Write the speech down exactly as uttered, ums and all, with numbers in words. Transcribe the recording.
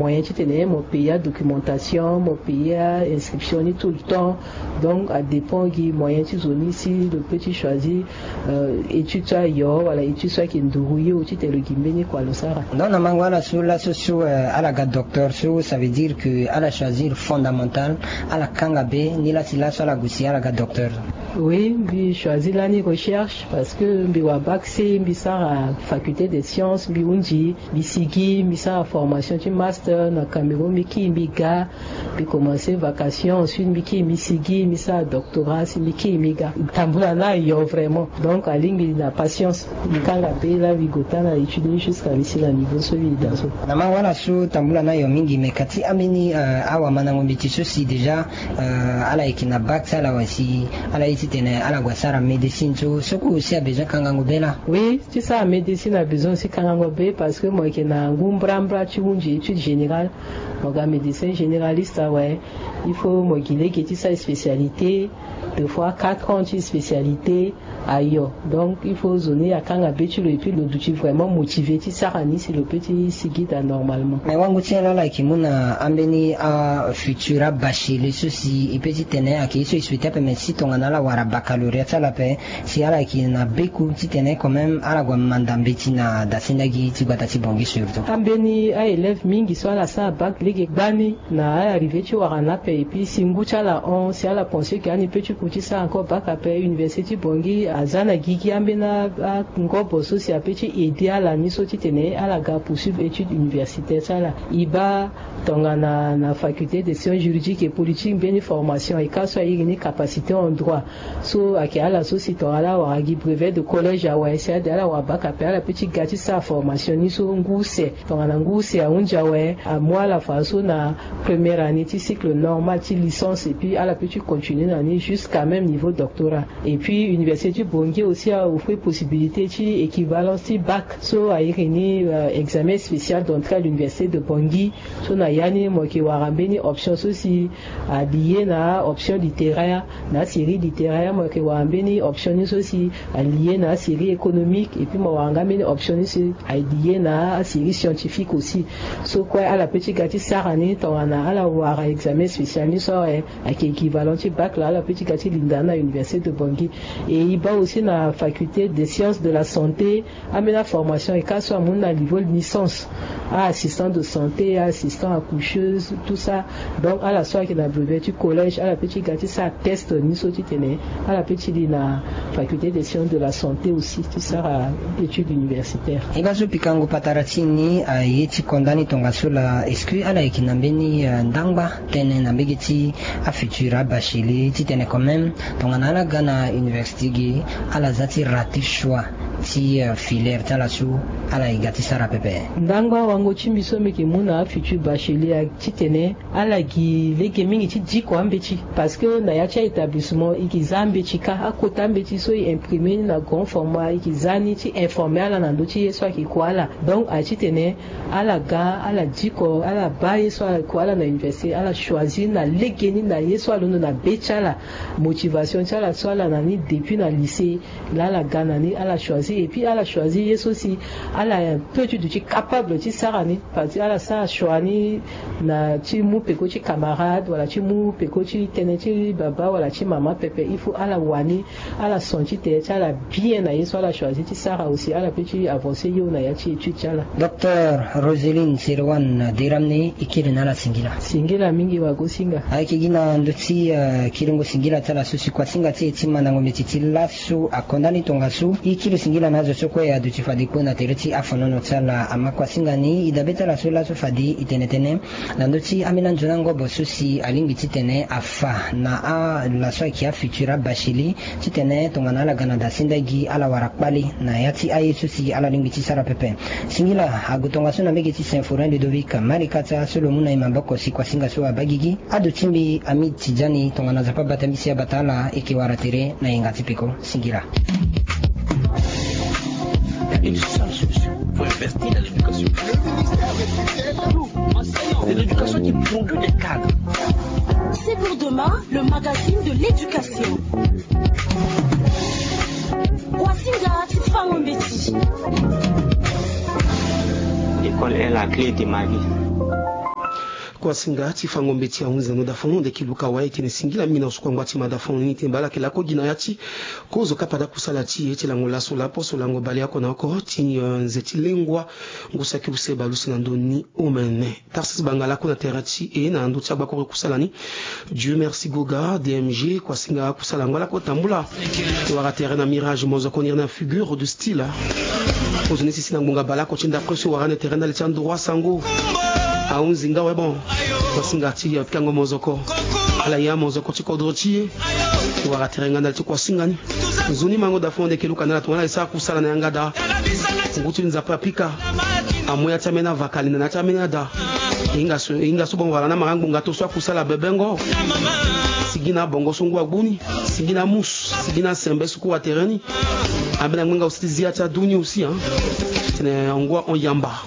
moyen titene mo payer adocumentation, mo payer ainscription ni tout le temps. Donc adépend gi moyen ti zo ni si lo peut ti choisir étude so ayo wala étude so ayeke nduru ye o titene lo gi mbeni kua lo sara. Donc na mango ala so laso so ala ga docteur so, ça veut dire que ala choisir fondamental, ala kanga be ni la si laso ala gue si ala ga docteur. Oui, mbi choisir lani recherche parce que mbi wara bac C, mbi sara faculté des sciences, mbi hunzi, mbi sigi, mbi sara formation ti master na Cameroun, mbi kiri mbi ga. Mbi commencer vacation, ensuite mbi kiri mbi sigi, mbi sara doctorat, si mbi kiri mbi ga. Tambula na yo vraiment. Donc alingbi na patience. Mbi kanga be la mbi gue taa na étude ni jusqu'à mbi si na niveau so mbi daa so. Na mango ala so tambula na yo mingi, mais kati ambeni awamandango mbeti so si déjà ala yeke na bac ti ala wala si ala ye titene ala gue asara médecine so, so kue aussi abesoin kangango be la? Oui, ti sara médecine abesoin aussi kangango be parce que mo yeke na ngu mbrambra ti hunzi étude générale. Mo ga médecin généraliste awe, il faut mo gi lege ti sara spécialité, deux fois quatre ans ti spécialité. Ayo, donc il faut zo ni akanga be ti lo et puis lo duti vraiment motivé ti sara ni si lo peut ti sigi daa normalement. Mais wango ti ala ala yeke mu na ambeni afutur abachelier so si e peut titene ayeke ye so e souhaiter ape, mais si tongana ala wara baccalauréat ti ala ape, si ala yeke na beku titene quand même ala gue manda mbeti na dasendagi ti gbata ti Bangui surtout. Ambeni aélève mingi so ala sara bac lege gbani na ala arrivé ti wara ni ape, et puis si ngu ti ala hon, si ala pensé que ani peut ti ku ti sara encore bac ape, université ti Bangui aza na gigi ambeni angobo so si apeut ti aider ala ni so titene ala ga poursuivre étude universitaire ti ala. E baa tongana na faculté des sciences juridiques et politiques mbeni formation e ka so airi ni capacité en droit. So ayeke ala so si tongana ala wara gi brevet de collège awe, si ade ala wara bac ape, ala peut ti ga ti sara formation ni so ngu use. Tongana ngu use ahunzi awe, amu ala fadeso na première année ti cycle normal ti licence, et puis ala peut ti continuer na ni jusqu'à même niveau doctorat. Et puis université ti Bangui aussi a offrir possibilité ti équivalence ti bac so airi ni examen spécial d'entrée à l'université de Bangui. So na ya ni mo yeke wara mbeni option so si alié na option littéraire, na asérie littéraire mo yeke wara mbeni option ni so si alié na asérie économique, et puis mo wara nga mbeni option ni so alié na asérie scientifique aussi. So kue ala peut ti ga ti sara ni tongana ala wara examen spécial ni so awe, ayeke équivalent ti bac la, ala peut ti ga ti linda ni na université de Bangui. Et e baa aussi na faculté des sciences de la santé, ambeni aformation e ka so amu ni na niveau licence, a assistant de santé, a assistant accoucheuse, tout ça. Donc ala so ayeke na brevet ti collège ala peut ti ga ti sara test ni so titene ala peut ti li na faculté des sciences de la santé aussi ti sara étude universitaire. E ga so pikango patara ti e ni aye ti konda ni tongaso laa, est-ce que ala yeke na mbeni ndangba tënë na mbege ti afutur abachelier titene quand même tongana ala ga na université ge ala za ti rater choix ti filière ti ala so ala ye ga ti sara pepe? Ndangba wango ti mbi so mbi yeke mu na afutur bachelier titene ala gi lege mingi ti diko ambeti, parce que na ya ti a-établissement e yeke za ambeti kâ, akota ambeti so e imprimer ni na grand format e yeke za ni ti informer ala na ndö ti ye so ayeke ku ala. Donc aye titene ala ga ala diko, ala baa ye so ala ku ala na université, ala choisir na lege ni na ye so alondo na be ti ala, motivation ti ala so ala na ni depuis na lycée. Laa ala ga na ni ala choisir, et puis ala choisir ye so si ala peut ti duti capable ti sara ni, parce que ala sara choix ni na ti mu peko ti camarade wala ti mu peko ti tënë ti baba wala ti mama pepe. Il faut ala wani ala senti tere ti ala bien na ye so ala choisir ti sara aussi, ala peut ti avancer yo na ya ti étude ti ala. Docteur Roseline Serewan Deramne, e kiri na ala singila. Singila mingi wagosinga. Ayeke gi na ndö ti kiringo singila ti ala so si kuasinga ti e ti mandango mbeti ti laso akonda ni tongaso. E kiri singila na azo so kue aduti fade kue na tere ti afonono ti ala. Ama kuasinga ni e dabe ti ala so laso fade e tene tënë na ndö ti ambeni anzoni angobo so si alingbi titene afa na ala so ayeke afutur abachelier titene tongana ala ga na dasendagi ala wara kpale na ya ti aye so si ala lingbi ti sara pepe. Singila ague tongaso na mbege ti Symphorien Ludovic Malikata so lo mu na e maboko si kuasinga so abaa gigi. Ado ti mbi Hamid Tidjani tongana Nzapa bata mbi si abata ala, e yeke wara tere na yenga ti peko. Singila. Une seule solution pour investir dans l'éducation. Le ministère de tutelle. Nous, enseignants de l'éducation qui produit des cadres. C'est pour demain, le magazine de l'éducation. Kuasinga ti fango mbeti. L'école est la clé de ma vie. Kuasinga ti fango mbeti ahunzi na ndo dafon ndeki luka wa e tene singila mina osuku angba ti ma dafon ni tene bala yeke lako gi na ya ti kozo kapa da kusala ti e ti lango laso lapo so lango baleoko na oko ti nze ti lengua. Ngu saki use baleuse na ndo ni omene. Tarsis banga lako na tere ti e na ndo ti agbakoro kusala ni. Dieu merci goga dmg kuasinga kusala ngo lako tambula. Wara tere na mirage mozoko niri na figure du style. Kozoni sisi na ngbonga baleoko ti ndapre so wara na tere ndali ti androit sango. Ahunzi nga we bon. Kuasinga ti pikango mozoko. Ala ya mozoko ti kodro ti e. Wara tere nga ndali ti kuasinga ni. Nzoni mango dafon ndeke luka na ala tongana e sara kusala na yanga da. Ngu ti nzapa pika. Amu ya ti ameni avakali na na ya ti ameni ada. Hinga so hinga so bon wala na mara ngbonga to so akusala bebengo. Sigi na bongo so ngu agbu ni. Sigi na mus sigi na sembe so kua tere ni. Ambeni angbenga aussi ti zia ti adu ni aussi. Tene ngu ahon yamba.